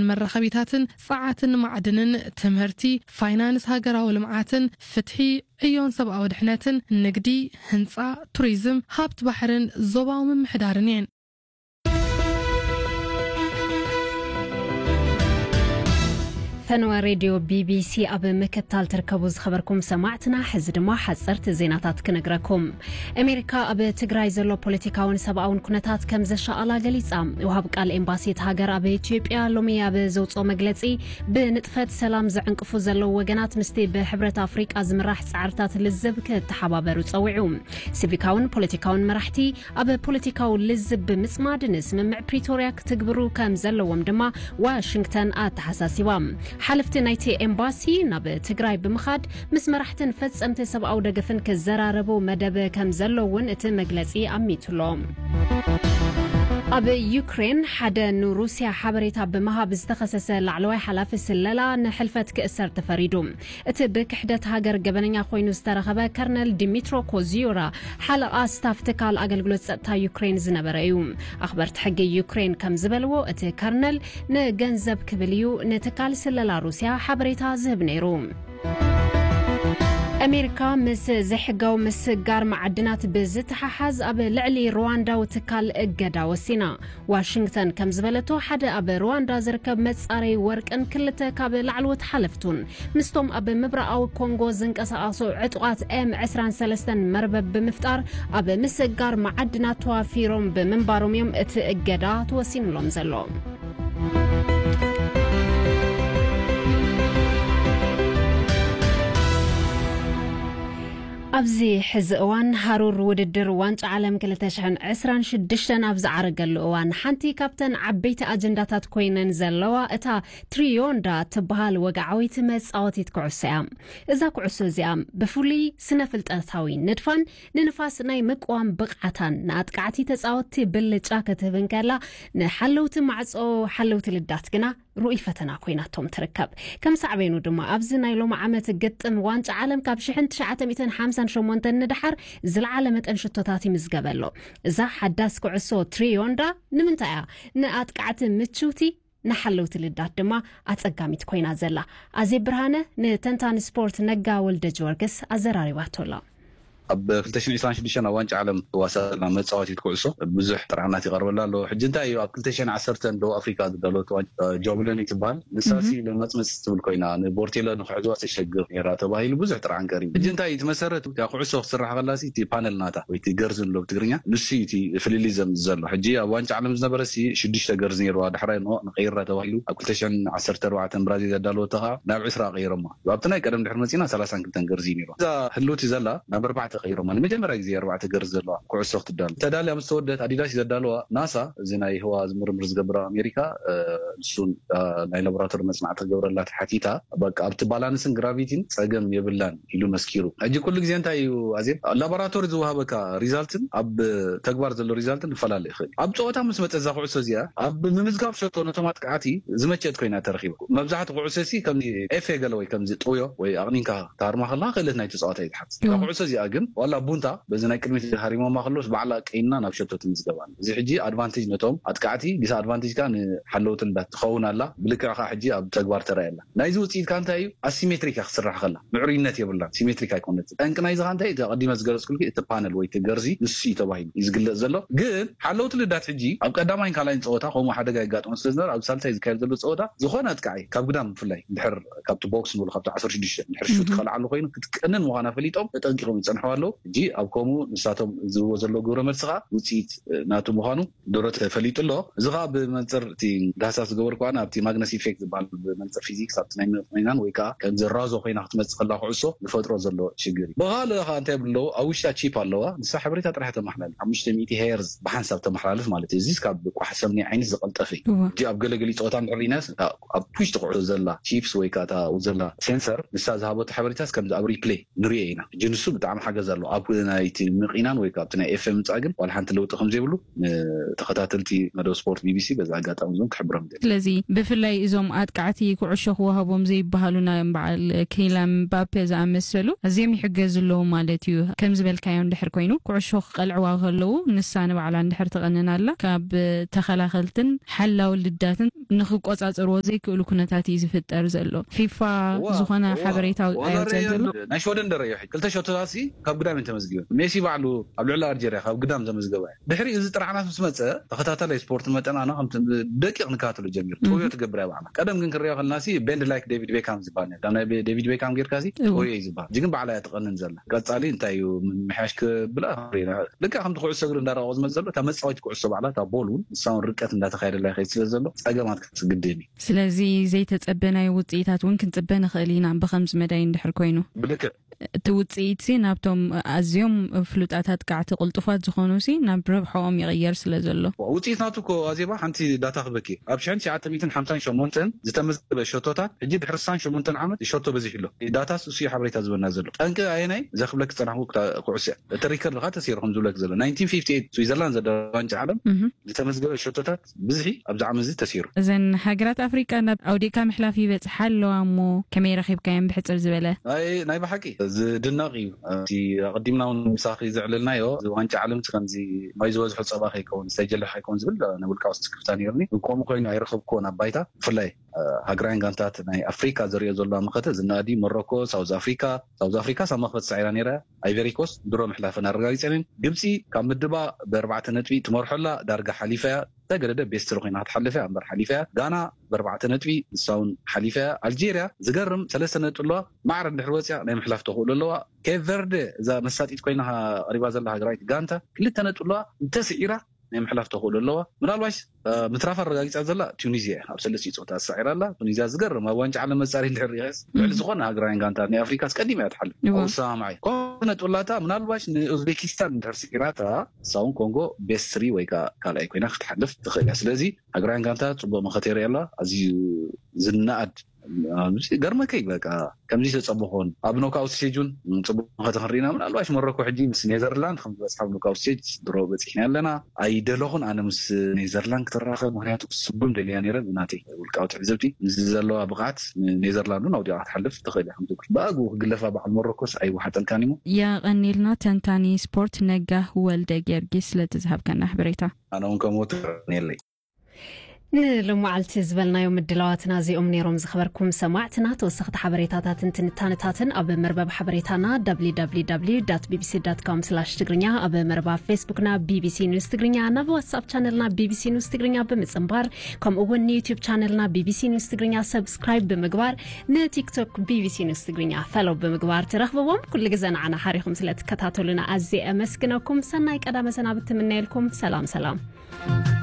መራኸቢታትን ጸዓትን ማዕድንን፣ ትምህርቲ፣ ፋይናንስ ሃገራዊ ልምዓትን፣ ፍትሒ፣ ዕዮን ሰብኣዊ ድሕነትን፣ ንግዲ፣ ህንጻ፣ ቱሪዝም፣ ሃብቲ ባሕርን ዞባዊ ምምሕዳርን እየን። ፈነወ ሬድዮ ቢቢሲ ኣብ ምክትታል ትርከቡ ዝኸበርኩም ሰማዕትና፣ ሕዚ ድማ ሓጸርቲ ዜናታት ክነግረኩም። ኣሜሪካ ኣብ ትግራይ ዘሎ ፖለቲካውን ሰብኣውን ኩነታት ከም ዘሻቐላ ገሊጻ። ወሃብ ቃል ኤምባሲ እቲ ሃገር ኣብ ኢትዮጵያ ሎሚ ኣብ ዘውፅኦ መግለጺ፣ ብንጥፈት ሰላም ዘዕንቅፉ ዘለዉ ወገናት ምስቲ ብሕብረት ኣፍሪቃ ዝምራሕ ጻዕርታት ልዝብ ክተሓባበሩ ጸዊዑ። ሲቪካውን ፖለቲካውን መራሕቲ ኣብ ፖለቲካዊ ልዝብ ብምጽማድ ንስምምዕ ፕሪቶርያ ክትግብሩ ከም ዘለዎም ድማ ዋሽንግተን ኣተሓሳሲባ። ሓለፍቲ ናይቲ ኤምባሲ ናብ ትግራይ ብምኻድ ምስ መራሕትን ፈጸምቲ ሰብኣዊ ደገፍን ክዘራረቡ መደብ ከም ዘሎ እውን እቲ መግለጺ ኣሚቱሎ። ኣብ ዩክሬን ሓደ ንሩስያ ሓበሬታ ብምሃብ ዝተኸሰሰ ላዕለዋይ ሓላፊ ስለላ ንሕልፈት ክእሰር ተፈሪዱ። እቲ ብክሕደት ሃገር ገበነኛ ኮይኑ ዝተረኸበ ከርነል ዲሚትሮ ኮዚዮራ ሓለቓ ስታፍ ትካል ኣገልግሎት ጸጥታ ዩክሬን ዝነበረ እዩ። ኣኽበርቲ ሕጊ ዩክሬን ከም ዝበልዎ፣ እቲ ከርነል ንገንዘብ ክብል እዩ ንትካል ስለላ ሩስያ ሓበሬታ ዝህብ ነይሩ። ኣሜሪካ ምስ ዘይሕጋዊ ምስጋር መዓድናት ብዝተሓሓዝ ኣብ ልዕሊ ሩዋንዳዊ ትካል እገዳ ወሲና። ዋሽንግተን ከም ዝበለቶ፣ ሓደ ኣብ ሩዋንዳ ዝርከብ መጻረይ ወርቅን ክልተ ካብ ላዕለዎት ሓለፍቱን ምስቶም ኣብ ምብራቓዊ ኮንጎ ዝንቀሳቐሱ ዕጡቓት ኤም ዕስራን ሰለስተን መርበብ ብምፍጣር ኣብ ምስጋር መዓድናት ተዋፊሮም ብምንባሮም እዮም እቲ እገዳ ተወሲኑሎም ዘሎ። ኣብዚ ሕዚ እዋን ሃሩር ውድድር ዋንጫ ዓለም ክልተ ሽሕን ዕስራን ሽዱሽተን ኣብ ዝዓረገሉ እዋን፣ ሓንቲ ካብተን ዓበይቲ ኣጀንዳታት ኮይነን ዘለዋ እታ ትሪዮንዳ ትበሃል ወግዓዊት መጻወቲት ኩዕሶ እያ። እዛ ኩዕሶ እዚኣ ብፍሉይ ስነ ፍልጠታዊ ንድፋን ንንፋስ ናይ ምቅዋም ብቕዓታን ንኣጥቃዕቲ ተጻወትቲ ብልጫ ክትህብ እንከላ፣ ንሓለውቲ ማዕጾ ሓለውቲ ልዳት ግና ርኡይ ፈተና ኮይናቶም ትርከብ። ከም ሳዕቤኑ ድማ ኣብዚ ናይ ሎሚ ዓመት ግጥም ዋንጫ ዓለም ካብ ሽሕን ትሽዓተ ሚእትን ሓምሳን ሸሞንተን ንደሓር ዝለዓለ መጠን ሽቶታት ይምዝገበ ኣሎ። እዛ ሓዳስ ኩዕሶ ትሪዮንዳ ንምንታይ እያ ንኣጥቃዕቲ ምችውቲ፣ ንሓለውቲ ልዳት ድማ ኣጸጋሚት ኮይና ዘላ? ኣዜብ ብርሃነ ንተንታኒ ስፖርት ነጋ ወልደ ጊዮርጊስ ኣዘራሪባቶ ኣላ። ኣብ ክልተ ሽሕን ዕስራን ሽዱሽተን ኣብ ዋንጫ ዓለም ትዋሳእ ዘላ መጻወቲት ኩዕሶ ብዙሕ ጥርዓናት ይቐርበላ ኣሎ። ሕጂ እንታይ እዩ፣ ኣብ ክልተ ሽሕን ዓሰርተን ደቡብ ኣፍሪካ ዝዳለወት ዋንጫ፣ እ፣ ጆብለኒ ትበሃል። ንሳ ሲ ለመጽመጽ ትብል ኮይና፣ ንቦርቴሎ ንክሕዝዋ ተሸግር ነይራ ተባሂሉ ብዙሕ ጥርዓን ቀሪቡ። ሕጂ እንታይ እዩ እቲ መሰረት? እታ ኩዕሶ ክትስራሕ ከላ ሲ እቲ ፓነል ናታ ወይ እቲ ገርዝ ንብሎ ብትግርኛ፣ ንሱ እዩ እቲ ፍልልይ ዘምጽእ ዘሎ። ሕጂ ኣብ ዋንጫ ዓለም ዝነበረ ሲ ሽዱሽተ ገርዝ ነይርዋ፣ ዳሕራይ ኖ ንቀይራ ተባሂሉ ኣብ ክልተ ሽሕን ዓሰርተ ኣርባዕተን ብራዚል ዘዳለወቶ ከዓ ናብ ዕስራ ቀይሮማ። ኣብቲ ናይ ቀደም ድሕሪ መጺና ሰላሳን ክልተን ገርዚ እዩ ነይሩ። እዛ ህልውቲ ዘላ ናብ ኣርባዕተ ቀይሮማ። ንመጀመርያ ግዜ ኣርባዕተ ገርዚ ዘለዋ ኩዕሶ ክትዳሎ። ተዳልያ ምስ ተወደት ኣዲዳስ እዩ ዘዳለዋ። ናሳ፣ እዚ ናይ ህዋ ዝምርምር ዝገብር ኣብ ኣሜሪካ፣ እ፣ ንሱን፣ እ፣ ናይ ላቦራቶሪ መጽናዕቲ ክገብረላ ተሓቲታ፣ በቃ ኣብቲ ባላንስን ግራቪቲን ጸገም የብላን ኢሉ መስኪሩ። ሕጂ ኩሉ ግዜ እንታይ እዩ ኣዜብ፣ ላቦራቶሪ ዝወሃበካ ሪዛልትን ኣብ ተግባር ዘሎ ሪዛልትን ክፈላለ ይኽእል እዩ። ኣብ ጸወታ ምስ መጸ እዛ ኩዕሶ እዚኣ ኣብ ምምዝጋብ ሸቶ ነቶም ኣጥቃዕቲ ዝመቸት ኮይና ተረኺባ። መብዛሕትኡ ኩዕሶ ሲ ከምዚ ኤፍ ኤ ገለ ወይ ከምዚ ጥውዮ ወይ ኣቕኒንካ ታርማ ከለኻ ክእለት ናይቲ ጸዋታ እዩ ዝሓት። እታ እዎ። ኩዕሶ እዚኣ ግን ዋላ ቡንታ በዚ ናይ ቅድሚት ሃሪሞማ ከለውስ ባዕላ ቀይና ናብ ሸቶ ትምዝገባ። እዚ ሕጂ ኣድቫንቴጅ ነቶም ኣጥቃዕቲ፣ ዲስ ኣድቫንቴጅ ከኣ ንሓለውቲ ልዳት ትኸውን ኣላ። ብልክዕ ከኣ ሕጂ ኣብ ተግባር ተራእያ ኣላ። ናይዚ ውጽኢት ከኣ እንታይ እዩ? ኣሲሜትሪክ እያ ክትስራሕ ከላ። ምዕሩይነት የብላን። ሲሜትሪክ ኣይኮነትን። ጠንቂ ናይዚ ከኣ እንታይ እዩ? እቲ ኣቐዲመ ዝገለጽኩልኪ እቲ ፓነል ወይ እቲ ገርዚ ንሱ እዩ ተባሂሉ እዩ ዝግለጽ ዘሎ። ግን ሓለውቲ ልዳት ሕጂ ኣብ ቀዳማይን ካልኣይን ጸወታ ከምኡ ሓደጋ የጋጥሞ ስለ ዝነበረ፣ ኣብ ሳልሳይ ዝካየድ ዘሎ ጸወታ ዝኾነ ኣጥቃዒ ካብ ግዳም ብፍላይ እንድሕር ካብቲ ቦክስ ንብሎ ካብቲ ዓሰርተ ሽዱሽተ እንድሕር ሹት እህ። ክኸልዓሉ ኮይኑ ክትቀንን ምዃና ፈሊጦም ተጠንቂቖም ይጸንሕዋ ኣለዉ። ሕጂ ኣብ ከምኡ ንሳቶም ዝህብዎ ዘለዉ ግብረ መልሲ ከኣ ውጽኢት፣ እ፣ ናቱ ምዃኑ ድሮ ተፈሊጡ ኣሎ። እዚ ከኣ ብመንጽር እቲ ዳህሳስ ዝገበርኩ ኣነ ኣብቲ ማግነስ ኢፌክት ዝበሃል ብመንጽር ፊዚክስ ኣብቲ ናይ መጠን ኮይናን ወይ ከኣ ከምዚ ራዞ ኮይና ክትመጽእ ከላ ኩዕሶ ዝፈጥሮ ዘሎ ሽግር እዩ። ብኻልእ ከኣ እንታይ ይብሉ ኣለዉ? ኣብ ውሽጣ ቺፕ ኣለዋ። ንሳ ሓበሬታ ጥራሕ ተመሓላልፍ። ሓሙሽተ ሚእቲ ሄርዝ ብሓንሳብ ተመሓላልፍ ማለት እዩ። እዚስ ካብ ቋሕ ሰምኒ ዓይነት ዝቐልጠፈ እዩ። እዋ። ሕጂ ኣብ ገለገሊ ጸወታ እንድሕር ርኢናስ፣ ኣብ ውሽጢ ኩዕሶ ዘላ ቺፕስ ወይ ከኣ እታ ዘላ ሴንሰር ንሳ ዝሃበቶ ሓበሬታስ ከምዚ ኣብ ሪፕሌይ ንሪኦ ኢና። ሕጂ ንሱ ብጣዕሚ ሓገዝ ዘሎ። ኣብ ናይቲ ምቕናን ወይ ካብቲ ናይ ኤፍኤም ምጻእ ግን ዋላ ሓንቲ ለውጢ ከም ዘይብሉ ንተኸታተልቲ መደብ ስፖርት ቢቢሲ በዚ ኣጋጣሚ እዞም ክሕብሮም ይደሊ። ስለዚ ብፍላይ እዞም ኣጥቃዕቲ ኩዕሾ ክወሃቦም ዘይበሃሉ ናይ በዓል ኪላን ምባፔ ዝኣመሰሉ ኣዝዮም ይሕገዙ ኣለዉ ማለት እዩ። ከም ዝበልካዮ እንድሕር ኮይኑ ኩዕሾ ክቐልዕዋ ከለዉ ንሳ ንባዕላ እንድሕር ትቐንን ኣላ ካብ ተኸላኸልትን ሓላው ልዳትን ንኽቆጻጸርዎ ዘይክእሉ ኩነታት እዩ ዝፍጠር ዘሎ። ፊፋ ዝኾነ ሓበሬታ ኣውፅኣዮ ዘሎ። ናይ ሸወደን ደረዮ ሕጂ ክልተ ሸቶታት ሲ ካብ ግዳም ተመዝጊበን። ሜሲ ባዕሉ ኣብ ልዕሊ ኣልጀርያ ካብ ግዳም ዘመዝገባ እዩ። ድሕሪ እዚ ጥራዕናት ምስ መፀ ተኸታታላይ ስፖርት መጠን ኣነ ከም ደቂቕ ንከታተሎ ጀሚሩ። ጥውዮ ትገብር እያ ባዕላ። ቀደም ግን ክንሪኦ ከለና ሲ ቤንድ ላይክ ዴቪድ ቤካም ዝበሃል ነበር። ናይ ዴቪድ ቤካም ጌርካ ሲ ጥውዮ እዩ ዝበሃል። እዚ ግን ባዕላ እያ ትቐንን ዘላ። ቀፃሊ እንታይ እዩ ምምሕያሽ ክብላ ልክዕ ከምቲ ኩዕሶ እግሪ እንዳረቐቆ ዝመፅ ዘሎ እታ መፃወቲ ኩዕሶ ባዕላ እታ ቦል እውን ንሳ እውን ርቀት እንዳተካየደላ ይኸይድ ስለ ዘሎ ፀገማት ክትግድም እዩ። ስለዚ ዘይተጸበናዮ ውጽኢታት እውን ክንጽበ ንኽእል ኢና ብኸምዚ መዳይ እንድሕር ኮይኑ። ብልክዕ እቲ ውጽኢትሲ ናብቶም ኣዝዮም ፍሉጣት ኣጥቃዕቲ ቅልጡፋት ዝኾኑሲ ናብ ረብሖኦም ይቕየር ስለ ዘሎ። ውጽኢት ናቱ እኮ ኣዜባ ሓንቲ ዳታ ክበኪ ኣብ ሽሕን ትሽዓተ ሚእትን ሓምሳን ሸሞንተን ዝተመዝገበ ሸቶታት ሕጂ ድሕሪ ስሳን ሸሞንተን ዓመት ሸቶ በዚሑ ኣሎ። ዳታ እሱ ሓበሬታ ዝበና ዘሎ ጠንቂ ኣየናይ ዘክብለክ ዝጸናሕኩ ኩዕሶ እያ። እቲ ሪከርድ ካ ተሲሩ ከም ዝብለክ ዘሎ ናይንቲን ፊፍቲ ኤይት ስዊዘርላንድ ዘደ ዋንጫ ዓለም ዝተመዝገበ ሸቶታት ብዝሒ ኣብዚ ዓመት እዚ ተሲሩ። እዘን ሃገራት ኣፍሪቃ ናብ ኣውዲእካ ምሕላፍ ይበጽሓ ኣለዋ እሞ ከመይ ረኺብካየን ብሕጽር ዝበለ? ናይ ናይ ብሓቂ ዝድነቕ እዩ። እቲ ኣቐዲምና እውን ምሳኺ ዘዕለልናዮ እዚ ዋንጫ ዓለም ከምዚ ማይ ዝበዝሖ ጸባ ከይከውን ዝተጀልሕ ከይከውን ዝብል ናይ ውልቃዊ ስክፍታ ነይሩኒ። ግን ከምኡ ኮይኑ ኣይረኸብኩዎን ኣብ ባይታ። ብፍላይ ሃገራውያን ጋንታት ናይ ኣፍሪካ ዘሪኦ ዘለዋ መኸተ ዝነኣድ እዩ። ሞሮኮ፣ ሳውዝ ኣፍሪካ ሳውዝ ኣፍሪካ ሳብ መኽፈቲ ሳዒራ ነይራ። ኣይቨሪኮስት ድሮ ምሕላፈን ኣረጋጊጸን እየን። ግብጺ ካብ ምድባ ብኣርባዕተ ነጥቢ ትመርሖ ኣላ፣ ዳርጋ ሓሊፋ እያ። ተገደደ ቤስትሪ ኮይና ክትሓልፍ እያ እምበር ሓሊፋ እያ። ጋና ብኣርባዕተ ነጥቢ ንሳ እውን ሓሊፋ እያ። ኣልጄርያ ዝገርም ሰለስተ ነጥቢ ኣለዋ። ማዕረ እንድሕር ወፅያ ናይ ምሕላፍ ተኽእሎ ኣለዋ። ኬፕ ቨርደ እዛ መሳጢት ኮይና ቀሪባ ዘላ ሃገራዊት ጋንታ ክልተ ነጥቢ ኣለዋ። እንተስዒራ ናይ ምሕላፍ ተኽእሎ ኣለዋ። ምናልባሽ ምትራፍ ኣረጋጊፃ ዘላ ቱኒዝያ እያ። ኣብ ሰለስቲኡ ፀወታ ተሳዒራ ኣላ። ቱኒዝያ ዝገርም ኣብ ዋንጫ ዓለም መፃሪ እንድሕር ሪኸስ ልዕሊ ዝኾነ ሃገራውያን ጋንታት ናይ ኣፍሪካ ኣስቀዲማ እያ ትሓልፍ። እወ። ኣውሳማዓይ ኮነ ጥላታ ምናልባሽ ንኡዝቤኪስታን እንድሕር ስዒራታ እሳ እውን ኮንጎ ቤስት ስሪ ወይ ከዓ ካልኣይ ኮይና ክትሓልፍ ትኽእል እያ። ስለዚ ሃገራውያን ጋንታት ፅቡቅ መኸተ የርኢ ኣላ። ኣዝዩ ዝነኣድ ገርመከይ በቃ ከምዚ ተፀበኾን ኣብ ኖክኣውት ስቴጅ እውን ፅቡቅ መኸተ ክንርኢና ምናልባሽ ሞሮኮ ሕጂ ምስ ኔዘርላንድ ከም ዝበፅሓ ኣብ ኖክኣውት ስቴጅ ድሮ በፂሕና ኣለና። ኣይደለኹን ኣነ ምስ ኔዘርላንድ ክትራኸብ ምክንያቱ ስጉም ደልያ ነይረ ብናተይ ውልቃዊ ትዕዝብቲ ምስ ዘለዋ ብቕዓት ኔዘርላንድ እውን ኣውዲቓ ክትሓልፍ ትኽእል እያ ከም ትብል ብኣግኡ ክግለፋ በዓል ሞሮኮስ ኣይወሓጠልካን እሞ። የቐኒልና ተንታኒ ስፖርት ነጋህ ወልደ ጊዮርጊስ ስለቲ ዝሃብካና ሓበሬታ። ኣነ እውን ከም ወትሩ የቐንየለይ። ንሎማዓልቲ ዝበልናዮ ምድላዋትና እዚኦም ነይሮም። ዝኸበርኩም ሰማዕትና ተወሰኽቲ ሓበሬታታትን ትንታነታትን ኣብ መርበብ ሓበሬታና www ቢቢሲ com ትግርኛ ኣብ መርበብ ፌስቡክና ቢቢሲ ኒውስ ትግርኛ ናብ ዋትሳፕ ቻነልና ቢቢሲ ኒውስ ትግርኛ ብምጽንባር ከምኡ እውን ንዩትዩብ ቻነልና ቢቢሲ ኒውስ ትግርኛ ሰብስክራይብ ብምግባር ንቲክቶክ ቢቢሲ ኒውስ ትግርኛ ፈለው ብምግባር ትረኽብዎም። ኩሉ ግዘ ንዓና ሓሪኹም ስለ ትከታተሉና ኣዝየ ኣመስግነኩም። ሰናይ ቀዳመ ሰናብት ትምነየልኩም። ሰላም ሰላም።